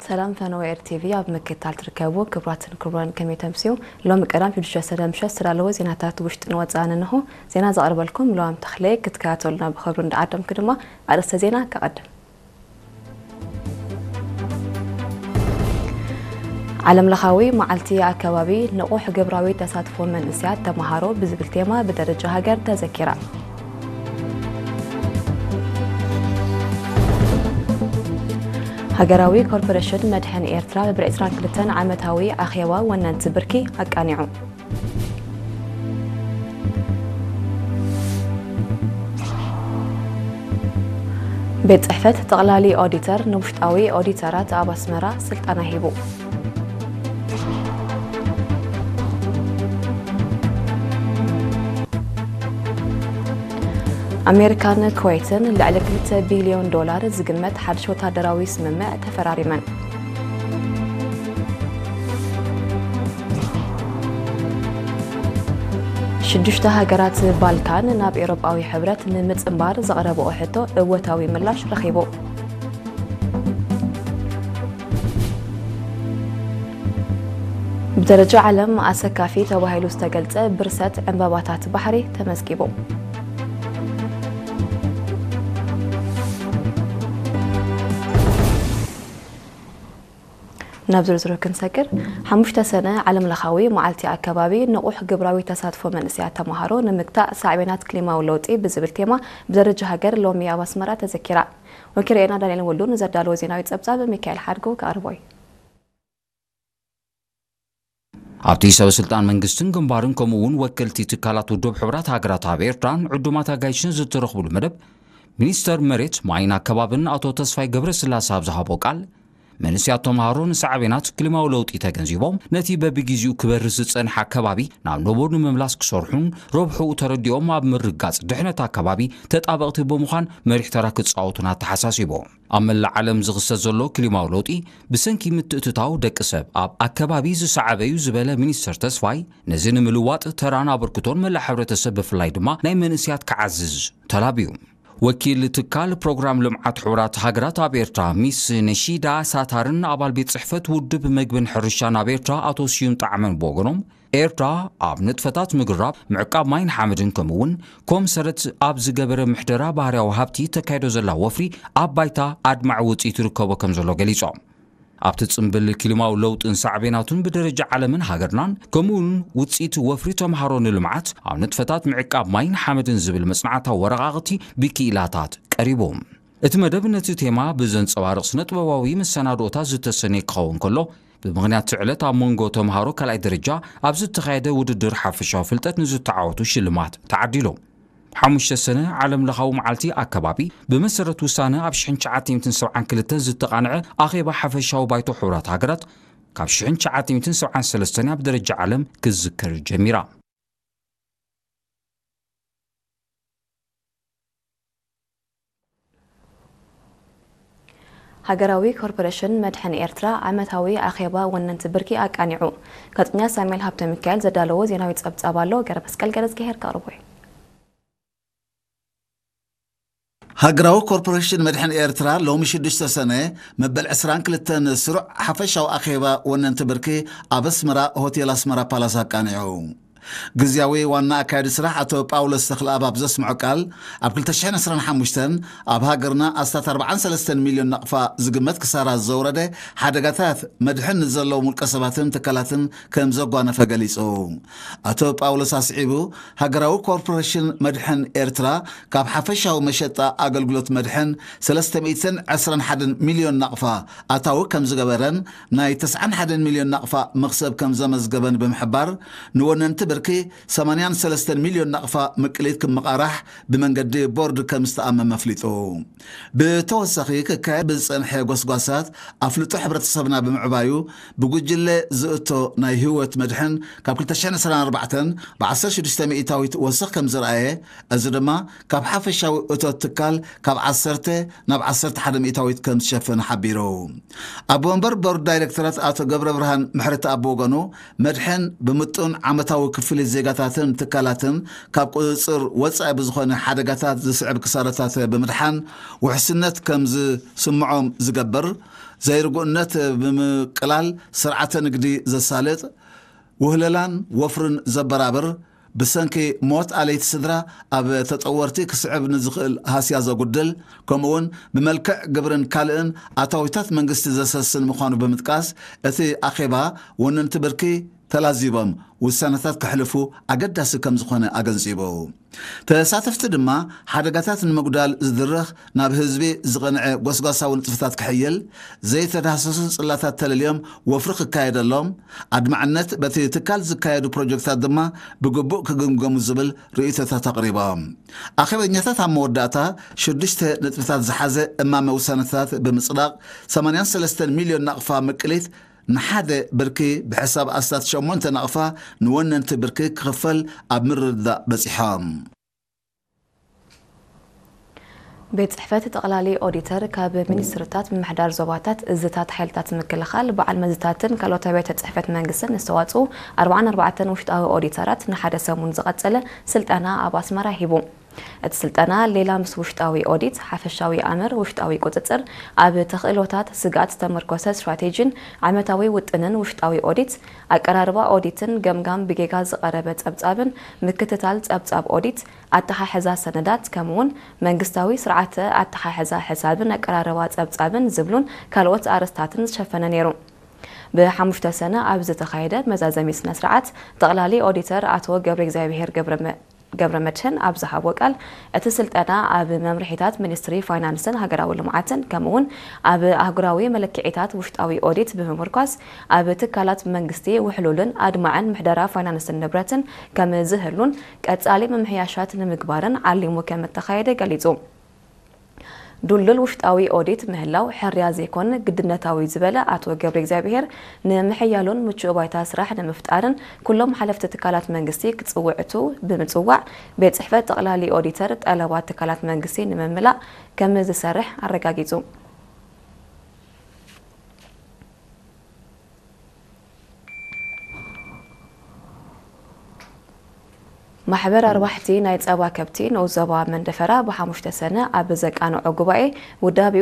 ሰላም ፈነወ ኤር ቲቪ ኣብ ምክትታል ትርከቡ ክቡራትን ክቡራን፣ ከመይ ተምስዩ? ሎሚ ቀዳም ሽዱሽተ ሰነ ምሸት ዝተዳለወ ዜናታት ውሽጥን ወጻእን እንሆ። ዜና ዘቕርበልኩም ሉዋም ተኽለ። ክትከታተሉና ብኽብሪ እንዳዓደምኩ ድማ ኣርእስተ ዜና ከቐድም። ዓለም ለኻዊ መዓልቲ ኣከባቢ ንቑሕ ግብራዊ ተሳትፎ መንእሰያት ተመሃሮ ብዝብል ቴማ ብደረጃ ሃገር ተዘኪራ። ሃገራዊ ኮርፖሬሽን መድሕን ኤርትራ ብዕስራን ክልተን ዓመታዊ ኣኼባ ወነንቲ ብርኪ ኣቃኒዑ። ቤት ጽሕፈት ጠቕላሊ ኦዲተር ንውሽጣዊ ኦዲተራት ኣብ ኣስመራ ስልጠና ሂቡ። ኣሜሪካን ኩዌትን ልዕሊ ክልተ ቢልዮን ዶላር ዝግመት ሓድሽ ወታደራዊ ስምምዕ ተፈራሪመን። ሽዱሽተ ሃገራት ባልካን ናብ ኤውሮጳዊ ሕብረት ንምጽንባር ዘቕረብኦ ሕቶ እወታዊ ምላሽ ረኺቡ። ብደረጃ ዓለም ኣሰካፊ ተባሂሉ ዝተገልጸ ብርሰት ዕምባባታት ባሕሪ ተመዝጊቡ። ናብ ዝርዝሩ ክንሰግር፣ ሓሙሽተ ሰነ ዓለም ለኻዊ መዓልቲ ኣከባቢ ንቑሕ ግብራዊ ተሳትፎ መንእሰያት ተመሃሮ ንምግታእ ሳዕቤናት ክሊማዊ ለውጢ ብዝብል ቴማ ብደረጃ ሃገር ሎሚ ኣብ ኣስመራ ተዘኪራ። ወኪል ርኤና ዳንኤል ወልዱ ንዘዳለዎ ዜናዊ ጸብጻብ ሚካኤል ሓድጉ ከቕርቦ እዩ። ኣብቲ ሰበ ስልጣን መንግስትን ግንባርን ከምኡ እውን ወከልቲ ትካላት ውድብ ሕቡራት ሃገራት ኣብ ኤርትራን ዕዱማት ኣጋይሽን ዝተረኽብሉ መደብ፣ ሚኒስተር መሬት ማይን ኣከባብን ኣቶ ተስፋይ ገብረስላሴ ኣብ ዝሃቦ ቃል፣ መንእሰያት ተምሃሮ ንሳዕቤናት ክሊማዊ ለውጢ ተገንዚቦም ነቲ በብግዜኡ ክበርስ ዝጸንሐ ኣከባቢ ናብ ንቡር ንምምላስ ክሰርሑን ረብሕኡ ተረዲኦም ኣብ ምርጋጽ ድሕነት ኣከባቢ ተጣበቕቲ ብምዃን መሪሕ ተራ ክጻወቱን ኣተሓሳሲቦም። ኣብ መላእ ዓለም ዝኽሰት ዘሎ ክሊማዊ ለውጢ ብሰንኪ ምትእትታው ደቂ ሰብ ኣብ ኣከባቢ ዝሰዓበ እዩ ዝበለ ሚኒስተር ተስፋይ፣ ነዚ ንምልዋጥ ተራን ኣበርክቶን መላእ ሕብረተሰብ ብፍላይ ድማ ናይ መንእሰያት ክዓዝዝ ተላብዩ። ወኪል ትካል ፕሮግራም ልምዓት ሕቡራት ሃገራት ኣብ ኤርትራ ሚስ ነሺዳ ሳታርን ኣባል ቤት ጽሕፈት ውድብ መግብን ሕርሻን ኣብ ኤርትራ ኣቶ ስዩም ጣዕመን ብወገኖም፣ ኤርትራ ኣብ ንጥፈታት ምግራብ፣ ምዕቃብ ማይን ሓመድን ከምኡ እውን ኮም ሰረት ኣብ ዝገበረ ምሕደራ ባህርያዊ ሃብቲ ተካይዶ ዘላ ወፍሪ ኣብ ባይታ ኣድማዒ ውጽኢት ይርከቦ ከም ዘሎ ገሊጾም። ኣብቲ ጽምብል ክሊማዊ ለውጥን ሳዕቤናቱን ብደረጃ ዓለምን ሃገርናን ከምኡ እውን ውጽኢት ወፍሪ ተምሃሮ ንልምዓት ኣብ ንጥፈታት ምዕቃብ ማይን ሓመድን ዝብል መጽናዕታዊ ወረቓቕቲ ብክኢላታት ቀሪቡ። እቲ መደብ ነቲ ቴማ ብዘንጸባርቕ ስነ ጥበባዊ መሰናድኦታት ዝተሰነየ ክኸውን ከሎ፣ ብምኽንያት እቲ ዕለት ኣብ መንጎ ተምሃሮ ካልኣይ ደረጃ ኣብ ዝተኻየደ ውድድር ሓፈሻዊ ፍልጠት ንዝተዓወቱ ሽልማት ተዓዲሉ። ሓሙሽተ ሰነ ዓለም ለኻዊ መዓልቲ ኣከባቢ ብመሰረት ውሳነ ኣብ ሽሕን ትሽዓተ ሚእትን ሰብዓን ክልተን ዝተቓንዐ ኣኼባ ሓፈሻዊ ባይቶ ሕቡራት ሃገራት ካብ ሽሕን ትሽዓተ ሚእትን ሰብዓን ሰለስተን ኣብ ደረጃ ዓለም ክዝከር ጀሚራ። ሃገራዊ ኮርፖሬሽን መድሕን ኤርትራ ዓመታዊ ኣኼባ ወነንቲ ብርኪ ኣቃኒዑ። ጋዜጠኛ ሳሙኤል ሃብተ ሚካኤል ዘዳለዎ ዜናዊ ጸብጻብ ኣሎ፣ ገረ መስቀል ገረዝግሄር ከቕርቦ እዩ። ሃገራዊ ኮርፖሬሽን መድሕን ኤርትራ ሎሚ ሽዱሽተ ሰነ መበል ዕስራን ክልተን ስሩዕ ሓፈሻዊ ኣኼባ ወነንቲ ብርኪ ኣብ ኣስመራ ሆቴል ኣስመራ ፓላስ ኣቃኒዑ። ግዝያዊ ዋና ኣካያዲ ስራሕ ኣቶ ጳውሎስ ተኽለኣብ ኣብ ዘስምዖ ቃል፣ ኣብ ክልተ ሽሕን ዕስራን ሓሙሽተን ኣብ ሃገርና ኣስታት ኣርባዓን ሰለስተን ሚልዮን ናቕፋ ዝግመት ክሳራ ዘውረደ ሓደጋታት መድሕን ንዘለዎም ውልቀ ሰባትን ትካላትን ከም ዘጓነፈ ገሊጹ። ኣቶ ጳውሎስ ኣስዒቡ፣ ሃገራዊ ኮርፖሬሽን መድሕን ኤርትራ ካብ ሓፈሻዊ መሸጣ ኣገልግሎት መድሕን ሰለስተ ሚእትን ዕስራን ሓደን ሚልዮን ናቕፋ ኣታዊ ከም ዝገበረን ናይ ተስዓን ሓደን ሚልዮን ናቕፋ መኽሰብ ከም ዘመዝገበን ብምሕባር፣ ንወነንቲ ብርኪ ሰማንያን ሰለስተን ሚልዮን ናቕፋ ምቅሊት ክመቓራሕ ብመንገዲ ቦርድ ከም ዝተኣመመ ኣፍሊጡ። ብተወሳኺ ክካየድ ብዝጸንሐ ጎስጓሳት ኣፍልጦ ሕብረተሰብና ብምዕባዩ ብጉጅለ ዝእቶ ናይ ህይወት መድሕን ካብ ክልተ ሽሕን ዕስራን ኣርባዕተን ብ ዓሰርተ ሽዱሽተ ሚእታዊት ወሰኽ ከም ዝረኣየ፣ እዚ ድማ ካብ ሓፈሻዊ እቶት ትካል ካብ ዓሰርተ ናብ ዓሰርተ ሓደ ሚእታዊት ከም ዝሸፈነ ሓቢሩ። ኣቦ ወንበር ቦርድ ዳይሬክተራት ኣቶ ገብረ ብርሃን ምሕረተኣብ ብወገኑ፣ መድሕን ብምጡን ዓመታዊ ክፍሊት ዜጋታትን ትካላትን ካብ ቁጽጽር ወጻኢ ብዝኾነ ሓደጋታት ዝስዕብ ክሳራታት ብምድሓን ውሕስነት ከም ዝስምዖም ዝገብር፣ ዘይርጉእነት ብምቅላል ስርዓተ ንግዲ ዘሳልጥ፣ ውህለላን ወፍርን ዘበራብር፣ ብሰንኪ ሞት ኣለይቲ ስድራ ኣብ ተጠወርቲ ክስዕብ ንዝኽእል ሃስያ ዘጉድል፣ ከምኡውን ብመልክዕ ግብርን ካልእን ኣታዊታት መንግስቲ ዘሰስን ምዃኑ ብምጥቃስ፣ እቲ ኣኼባ ወነንቲ ብርኪ ተላዚቦም ውሳነታት ከሕልፉ ኣገዳሲ ከም ዝኾነ ኣገንጺቡ። ተሳተፍቲ ድማ ሓደጋታት ንምጉዳል ዝድረኽ ናብ ህዝቢ ዝቐንዐ ጎስጓሳዊ ንጥፈታት ክሕይል፣ ዘይተዳህሰሱ ጽላታት ተለልዮም ወፍሪ ክካየደሎም፣ ኣድማዕነት በቲ ትካል ዝካየዱ ፕሮጀክታት ድማ ብግቡእ ክግምገሙ ዝብል ርእይቶታት ኣቕሪቦም። ኣኼበኛታት ኣብ መወዳእታ ሽዱሽተ ነጥብታት ዝሓዘ እማመ ውሳነታት ብምጽዳቕ ሰማንያን ሰለስተን ሚልዮን ናቕፋ ምቅሊት ንሓደ ብርኪ ብሕሳብ ኣስታት ሸሞንተ ናቕፋ ንወነንቲ ብርኪ ክኽፈል ኣብ ምርድዳእ በጺሖም። ቤት ጽሕፈት ጠቕላሊ ኦዲተር ካብ ሚኒስትርታት ምምሕዳር ዞባታት እዝታት ሓይልታት ምክልኻል በዓል መዝታትን ካልኦት ኣባይቲ ጽሕፈት መንግስትን ዝተዋጽኡ ኣርባዓን ኣርባዕተን ውሽጣዊ ኦዲተራት ንሓደ ሰሙን ዝቐጸለ ስልጠና ኣብ ኣስመራ ሂቡ። እቲ ስልጠና ሌላ ምስ ውሽጣዊ ኦዲት፣ ሓፈሻዊ ኣምር፣ ውሽጣዊ ቁጽጽር፣ ኣብ ተኽእሎታት ስግኣት ዝተመርኮሰ ስትራቴጂን ዓመታዊ ውጥንን ውሽጣዊ ኦዲት፣ ኣቀራርባ ኦዲትን ገምጋም ብጌጋ ዝቐረበ ጸብጻብን ምክትታል ጸብጻብ ኦዲት፣ ኣተሓሕዛ ሰነዳት፣ ከምኡውን መንግስታዊ ስርዓተ ኣተሓሕዛ ሕሳብን ኣቀራርባ ጸብጻብን ዝብሉን ካልኦት ኣርእስታትን ዝሸፈነ ነይሩ። ብሓሙሽተ ሰነ ኣብ ዝተኻየደ መዛዘሚ ስነ ስርዓት፣ ጠቕላሊ ኦዲተር ኣቶ ገብረ እግዚኣብሔር ገብረ መ-፣ ገብረ መድህን ኣብ ዝሃቦ ቃል፣ እቲ ስልጠና ኣብ መምርሒታት ሚኒስትሪ ፋይናንስን ሃገራዊ ልምዓትን፣ ከምኡውን ኣብ ኣህጉራዊ መለክዒታት ውሽጣዊ ኦዲት ብምምርኳስ፣ ኣብ ትካላት መንግስቲ ውሕሉልን ኣድማዕን ምሕደራ ፋይናንስን ንብረትን ከም ዝህሉን ቀጻሊ ምምሕያሻት ንምግባርን ዓሊሙ ከም እተኻየደ ገሊጹ። ድልዱል ውሽጣዊ ኦዲት ምህላው ሕርያ ዘይኮን ግድነታዊ ዝበለ ኣቶ ገብረ እግዚኣብሔር፣ ንምሕያሉን ምቹእ ባይታ ስራሕ ንምፍጣርን ኩሎም ሓለፍቲ ትካላት መንግስቲ ክጽውዕቱ ብምጽዋዕ፣ ቤት ጽሕፈት ጠቕላሊ ኦዲተር ጠለባት ትካላት መንግስቲ ንምምላእ ከም ዝሰርሕ ኣረጋጊጹ። ማሕበር ኣርባሕቲ ናይ ጸባ ከብቲ ንኡስ ዞባ መንደፈራ ብሓሙሽተ ሰነ ኣብ ዘቃንዖ ጉባኤ ውዳቤኡ